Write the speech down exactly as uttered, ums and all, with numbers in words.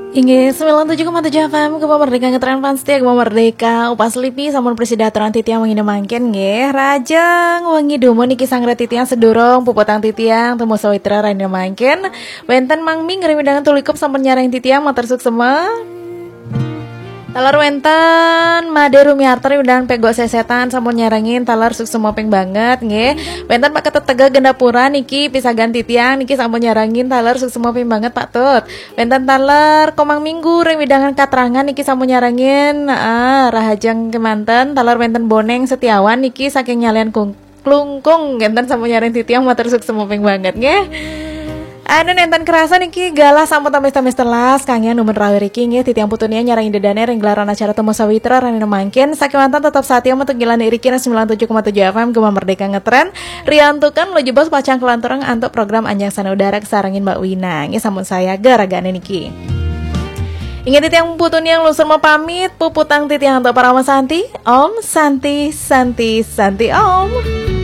Inggih, sembilan tujuh koma tujuh F M, Gema Merdeka, ngetren fans setia Gema Merdeka. Upas lipi sampun prasida aturang titiang wengi mangkin nggih. Rahajeng wengi dumun niki sanggra titiang sedurung puputang titiang temu sawitra rahina mangkin. Wenten Mang Ming ring wewidangan Tulikup sampun nyarengin titiang, matur suksma. Taler wenten Made Rumiarta ring wewidangan Pegok Sesetan sampun nyarengin, taler suksma ping banget nggih. Wenten Pak Ketut Teguh Gandapura niki pisagan titiang niki sampun nyarengin, taler suksma ping banget Pak Tut. Wenten taler Komang Minggu ring wewidangan Katrangan niki sampun nyarengin, ah, rahajeng kemanten. Taler wenten Boneng Setiawan niki saking Nyalian Kung Klungkung, wenten sampun nyarengin titiang, matur suksma ping banget nggih. Anu nenten kerasa niki galah sampun tamis-tamis telas, kanggian dumun rauh riki nggih, titiang Putu Nia nyarengin dedane ring gelaran acara Temu Sawitra rahina mangkin. Sakemanten tetep satia mentunggilane riki ring sembilan tujuh koma tujuh F M Gema Merdeka ngetren. Riantukan luju bos pacang kalanturang antuk program Anjang Sana Udara kasarengin Mbak Wina. Nggih, sampun sayaga ragane niki. Inggih titiang Putu Nia nglungsur mapamit, puputang titiang antuk Parama Santi. Om Santi, Santi, Santi Om.